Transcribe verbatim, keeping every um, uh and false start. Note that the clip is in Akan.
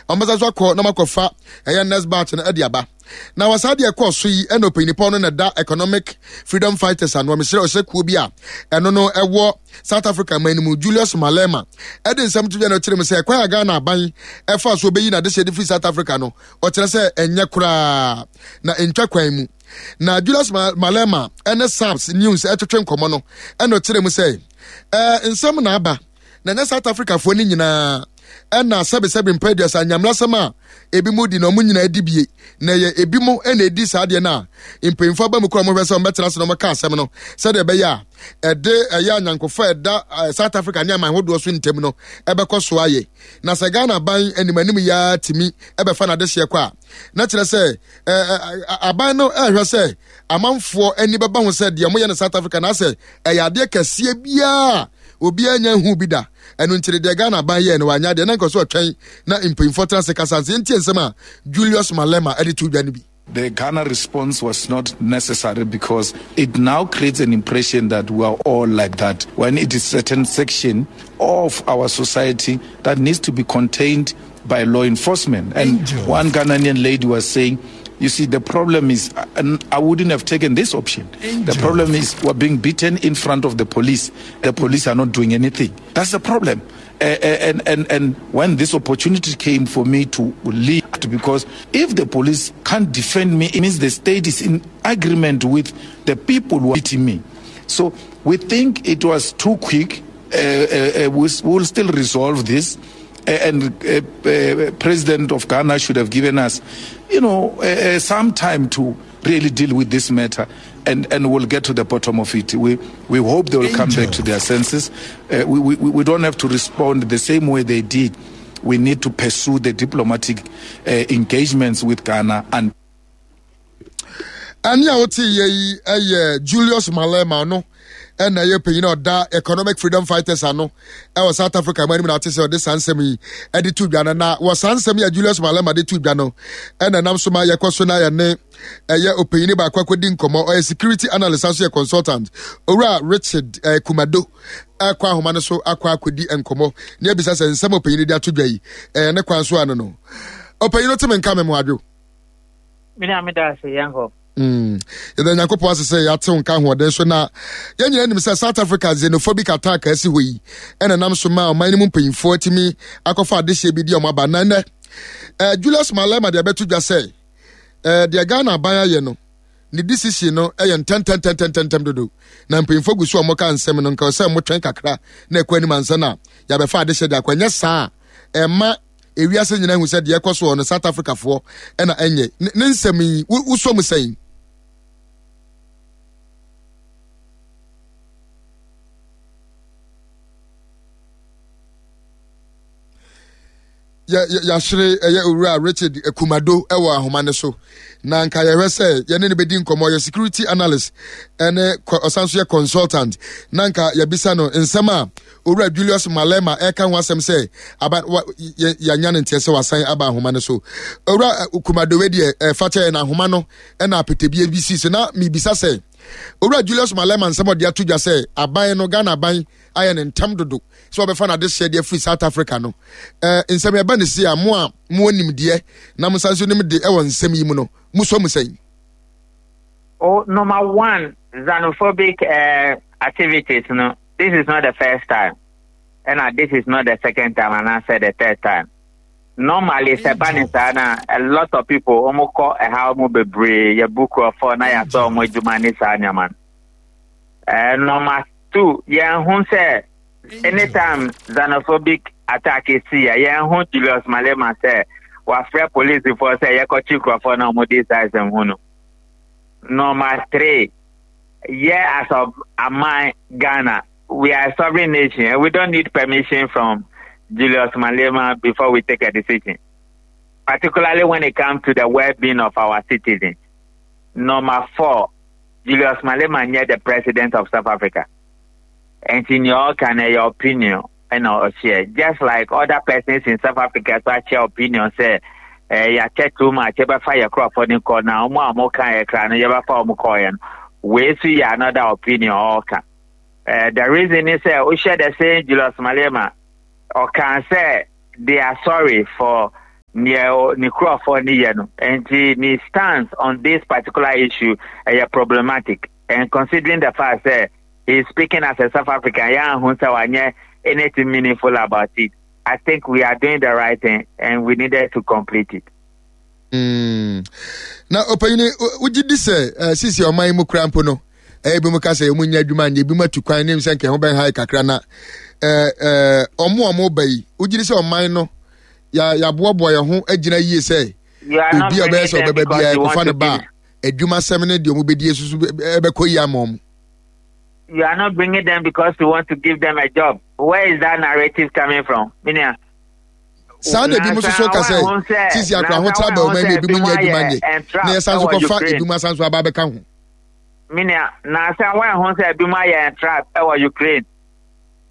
Ɔmbɛsa so akɔ na makɔfa ɛyɛ next batch no ɛde aba. Na wɔ saa deɛ ɛkɔɔ so yi, ɛna ɔpanyinipɔn no na ɛda Economic Freedom Fighters ano, ɔmesrɛ ɔhyɛ kuo bi a ɛno no ɛwɔ South Africa man no mu, Julius Malema, ɛde nsɛm to dwa na ɔkyerɛ mu sɛ ɛkwan a Ghana aban ɛfa so ɔbɛyi n'adehyɛ de firi South Africa no, ɔkyerɛ sɛ ɛnyɛ koraa na ɛntwa kwan mu. Na Julius Malema ɛne SABC News ɛtwetwe nkɔmmɔ no, ɛna ɔkyerɛ mu sɛ ɛɛ nsɛm na aba na ɛnyɛ South Africafoɔ no nyinaa ɛna sɛbesɛbe mpa aduasa nyamlasɛm a ebi mu di na ɔmo nyinaa di bie, na ɛyɛ ebi mo ɛna edi saa deɛ no a mpanyinfoɔ aba mu kora ɔmo hwɛ sɛ ɔmo bɛtena ase na ɔmo ka asɛm no sɛdeɛ ɛbɛyɛ a ɛde ɛyɛ anyankofa ɛda South Africa ne aman ahodoɔ so ntam no ɛbɛkɔ so ayɛ. Na sɛ Ghana aban anim anim yaa tumi ɛbɛfa n'adehyeɛ kɔ a, na kyerɛ sɛ ɛɛ aban no ɛhwɛ sɛ amanfoɔ ani bɛba ho sɛ deɛ ɔmo yɛ no South Africa na asɛ ɛyɛ adeɛ kɛseɛ biara obiara nya hu bi da. Ɛno nkyerɛ deɛ Ghana aban yɛɛ no wanya deɛ na nkɔ so ɔtwɛn na mpanyinfoɔ tena ase kasa nse. Ntie nsɛm a Julius Malema ɛde to dwa no bi. The Ghana response was not necessary because it now creates an impression that we are all like that, when it is certain section of our society that needs to be contained by law enforcement. And Angel. One Ghanaian lady was saying, you see, the problem is, I wouldn't have taken this option. Angel. The problem is we're being beaten in front of the police. The police are not doing anything. That's the problem. And, and, and when this opportunity came for me to leave, because if the police can't defend me, it means the state is in agreement with the people who are beating me. So we think it was too quick. Uh, uh, we will still resolve this. And uh, uh, President of Ghana should have given us, you know, uh, some time to really deal with this matter, and, and we'll get to the bottom of it. We, we hope they will come back to their senses. Uh, we, we, we don't have to respond the same way they did. We need to pursue the diplomatic uh, engagements with Ghana. And Ani a wote yɛ yi ɛyɛ Julius Malema no, ɛna ɛyɛ panyin a ɔda Economic Freedom Fighters ano ɛwɔ South Africa mu anim, na ate sɛ ɔde saa nsɛm yi ɛde to dwa no. Na wɔ saa nsɛm yi a Julius Malema de to dwa no, ɛna nam so ma yɛkɔ so na yɛne ɛyɛ ɔpanyin baako akɔdi nkɔmmɔ. Ɔyɛ security analyst, aso yɛ consultant, Owura Richard ɛɛ Kumado, ɛkɔ ahoma no so akɔ akɔdi nkɔmmɔ ne ebisa sɛ nsɛm ɔpanyin de ato dwa yi ɛɛ ne kwan so ano no. Ɔpanyin no te me nka me mo adwo. Mene a meda ase yɛn hɔ. Yɛda Nyankopɔn ase sɛ yɛatew nka ahoɔden so. Na yɛn nyinaa nim sɛ South Africa xenophobic attack a asi hɔ yi ɛna nam so ma ɔman no mu mpanyinfoɔ atumi akɔfa adehyeɛ bi di ɔmo aba. Na nnɛ eh, Julius Malema deɛ ɛbɛto dwa sɛ eh, deɛ Ghana aban ayɛ no, ne decision no ɛyɛ ntɛntɛntɛntɛntɛm dodo, na mpanyinfoɔ gu so a wɔka nsɛm no nka sɛ motwɛn kakra na ɛkɔ anim ansa na yɛabɛfa adehyeɛ de akɔ. Ɛnyɛ saa a, ɛma ewiase nyinaa hu sɛ deɛ ɛkɔ soɔ no South Africafoɔ ɛna ɛnyɛ ne nsɛm yi. Wosɔ mu sɛn? Yɛahyere ɛyɛ Owura Richard Kumado ɛwɔ ahoma no so, na nka yɛhwɛ sɛ yɛne no bɛdi nkɔmmɔ. Yɛ security analyst ɛne ɔsan so yɛ consultant, na nka yɛbisa no nsɛm a Owura Julius Malema ɛka ho asɛm sɛ aba yɛanya no nteɛ sɛ wasan aba ahoma no so. Owura Kumado, wei deɛ ɛfa kyɛ na ahoma no ɛna apɛtɛbie bi si so. Na mebisa sɛ Owura Julius Malema nsɛm ɔde ato dwa sɛ aban no, Ghana aban ayɛ ne ntam dodo sɛ wɔbɛfa no adehyeɛ de afiri South Africa no, ɛɛ nsɛm yɛba ne si a, mo a mo nimdeɛ na mo nsa nso nim de ɛwɔ nsɛm yi mu no, mo sɔ mu sɛn? Oh, number one, xenophobic uh, activities no, this is not the first time, and uh, this is not the second time, and I said the third time. Normally, sɛ ba ne saa na a lot of people ɔmo kɔ ɛha, ɔmo bebree yɛ bu kurɔfoɔ na yɛasɔ ɔmo adwuma ne saa nneɛma no. Uh, number two, yɛn ho sɛ anytime xenophobic attack si a, yɛn ho Julius Malema sɛ wafrɛ polisifoɔ sɛ yɛkɔkye kurɔfoɔ na ɔmo di saa nsɛm ho no. Number three, yeah, as of aman Ghana, we are a sovereign nation and we don't need permission from Julius Malema before we take a decision, particularly when it comes to the well-being of our citizens. Number four, Julius Malema nyɛ the president of South Africa. And in your kind of your opinion, and share just like other persons in South Africa so share opinion say eh yɛakyɛ too much, yɛbɛfa yɛ kurɔfoɔ no kɔ na ɔmo a ɔmo ka yɛ kra no, yɛbɛfa ɔmo kɔɔ yɛ no. Wei so yɛ another opinion ɔɔka. Uh, the reason is sɛ wohyɛ the same Julius Malema ɔka sɛ they are sorry for Neɛ ne nkurɔfoɔ ne yɛ no. Nti ne stance on this particular issue ɛyɛ problematic. And considering the fact that he is speaking as a South African, yɛn ahu sɛ wanyɛ anything meaningful about it. I think we are doing the right thing and we needed to complete it. Mm. Na ɔpanyini, wogye di sɛ eh, sisi ɔman yi mu kura mpo no, ɛyɛ bi mu ka sɛ ɔmu nya adwuma nyɛ, ebi mu atu kwan ne sɛ nka ɛho bɛn ha kakra na eh, eh, ɔmo a ɔmo ba yi, wogye di sɛ ɔman no yɛaboaboa yɛn ho agyina yie sɛ obi a ɔbɛyɛ sɛ ɔbɛba biara ɛkɔfa no ba a, adwumasɛm ne deɛ ɔmo bɛdi susu ɛbɛkɔ yie ama ɔmo? You are not bringing them because you want to give them a job. Where is that narrative coming from? Minia. Saa na ebi mu soso ka sɛ sisi akora ahokyere aba ɔman mu, ebi mu nyɛ adwuma nyɛ na yɛsan so kɔfa ebi mu asan so aba abɛka ho. Minia, na sɛ wɔn ho sɛ ebi mu ayɛ trap ɛwɔ Ukraine.